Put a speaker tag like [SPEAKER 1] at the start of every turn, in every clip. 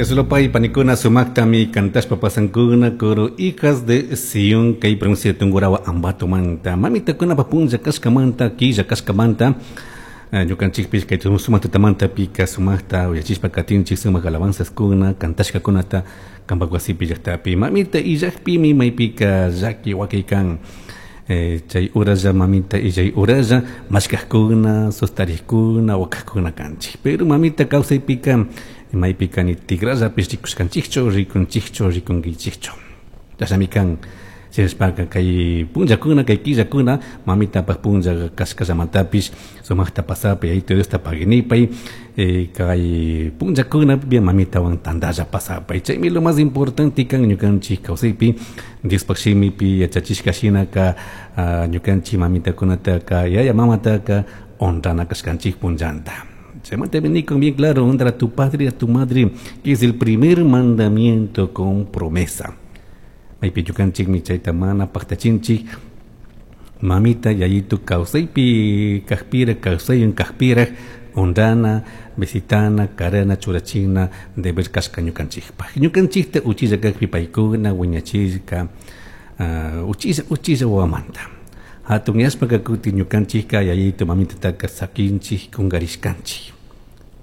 [SPEAKER 1] Dios panikuna sumaktami cantashpa pasankuna coro Hijas de Sion kay provincia de Tungurahua Ambatomanta mamitakunapa punlla kashkamanta killa kashkamanta ñukanchikpish kay sumak tutamantapika sumakta uyachishpa katinchik sumak alabanzaskuna cantashkakunata kampak wasipi llaktapi mamita illakpimi maypika llaki wakay kan chay uralla mamita illay uralla mashkajkuna sustarikkuna wakajkuna kanchik pero mamita kawsaypika maypika ni tikrallapish rikushkanchikchu rikunchikchu rikunkichikchu chashnami kan shinashpaka kay punllakuna kay killakuna mamitapak punlla kashkallamantapish sumakta pasapay Yayito Diosta paginipay kay punllakuna mamitawan tantalla pasapay chaymi lo más importante kan ñukanchik kawsaypi Diospak shimipi yachachishka shinaka ñukanchik mamitakunataka yaya mamataka honrana kashkanchik punllanta. Chaymanta con bien claro, honra a tu padre y a tu madre, que es el primer mandamiento con promesa. Maypi ñukanchikmi chayta mana paktachinchik mamita yayitu kawsaypi kajpira kawsaywan kajpiraj honrana visitana karana churachina deber kashka ñukanchikpaj ñukanchikta uchilla kajpi paykuna wiñachishka uchilla uchilla wawamanta hatun yashpaka kutin ñukanchikka yayitu mamitataka sakinchik kunkarishkanchik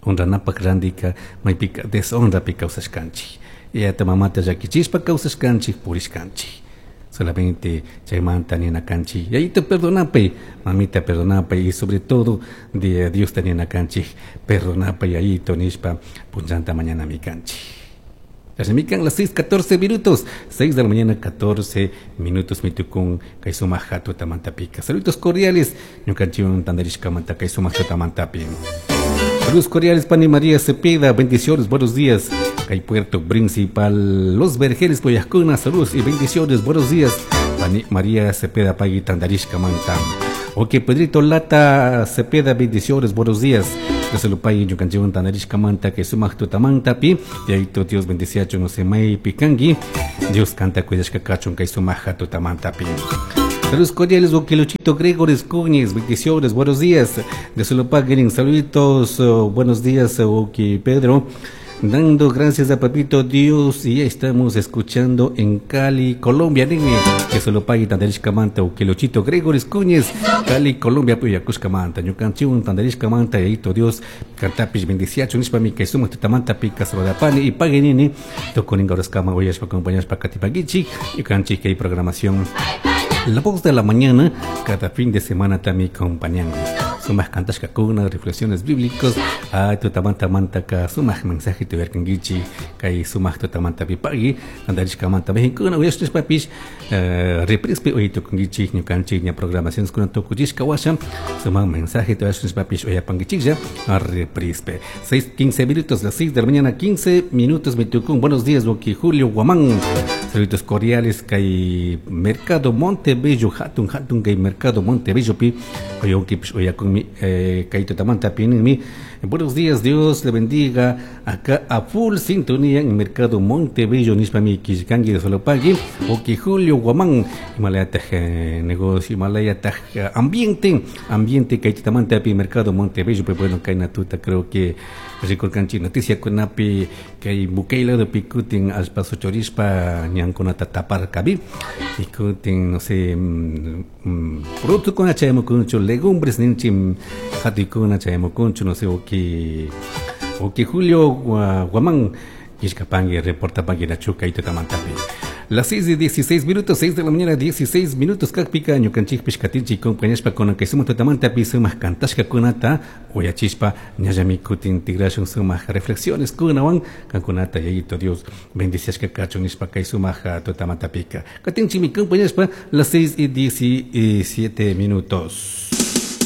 [SPEAKER 1] honranapak randika maypika deshonrapi kawsashkanchik yayata mamata llakichishpa kawsashkanchik purishkanchik solamente chaymanta nina kanchik yayito perdonapay mamita perdonapay y sobre todo de Diosta nina kanchik perdonapay yayito nishpa punllanta mañanami kanchik. Chashnamikan las 6:14 minutos, 6 de la mañana 14 minutos mitukun kay sumak tutamantapika. Saludos cordiales, ñukanchikwan tantarishkamanta kay sumak tutamantapi. Saludos cordiales, Pani María Cepeda, bendiciones, buenos días. Kay Puerto Principal, Los Vergeles, Poyascuna, saludos y bendiciones, buenos días. Pani María Cepeda, pagui tantarishkamanta. Ok, Pedrito Lata Cepeda, bendiciones, buenos días. Dios ñukanchikwan tantarishkamanta kay sumak tutamantapi. Yayito Dios bendiciachun no se maypi kanki. Dios kanta cuidashka kachun kay sumak tutamantapi. Saludos cordiales, Luchito Gregores Cúñez, bendiciones, buenos días. De Solopaguen, saluditos, buenos días, Oki Pedro. Dando gracias a Papito Dios y ya estamos escuchando en Cali, Colombia. Dime que solo pague tandarishkamanta Ukilochito Gregores Cúñez, Cali, Colombia, Puyakushkamanta, Ñukanchiun, tandarishkamanta, Yayito Dios, Cantapish, bendiciacho, nishpami, que somos tutamanta, pica, saludapani y pague nini, toconinga, orascama, oyashpa, acompañashpa, katipagichi, ñukanchi, que hay programación. La voz de la mañana, cada fin de semana también acompañando. Sumak kantashkakuna, reflexiones bíblicas, ay tutamanta mantaka, sumak mensaje tuverkangichi, kay sumak tutamanta pipagi, tantarishkamanta mexincuna, uyashishpapish, reprispi uyitukungichi, ñukanchik ña programaciones kuna tukuchishka washa, sumak mensaje tuyashishpapish uyapangichiklla, reprispe. 6:15 minutos, las 6 de la mañana, 15 minutos, mitukun. Buenos días, Boki Julio Guamán. Saludos cordiales, kay Mercado Montebello, hatun hatun kay Mercado Montebello pi, oyonkipish uyakunmi, kay tutamanta pininmi. Buenos días, Dios le bendiga. Acá a full sintonía en Mercado Montebello, nishpami kishkangi de Solopagui, Oki Julio Guamán, Himalaya taj negocio, Himalaya taj ambiente, ambiente kay tutamanta pi Mercado Montebello, pero bueno, kay natuta creo que rikurkanchik noticia kunapi kay Bukele lado pikutin allpa suchurishpa ñankunata taparkabi y kutin no sé productokuna chayamukunchu legumbres ninchik hatuykuna chayamukunchu no sé oki Julio Guamán kishkapanki reportapanki nachu kay tutamantapi. Las 6:16 minutos, 6 de la mañana, 16 minutos, kakpika, ñukanchikpish katinchik compañashpa kunan kay sumak tutamantapi sumak kantashkakunata uyachishpa ñallami kutin tigrashun sumak reflexiones kunawan kankunata Yayito Dios bendiciashka kachun nishpa kay sumak tutamantapika. Katinchikmi compañashpa las 6:17 minutos.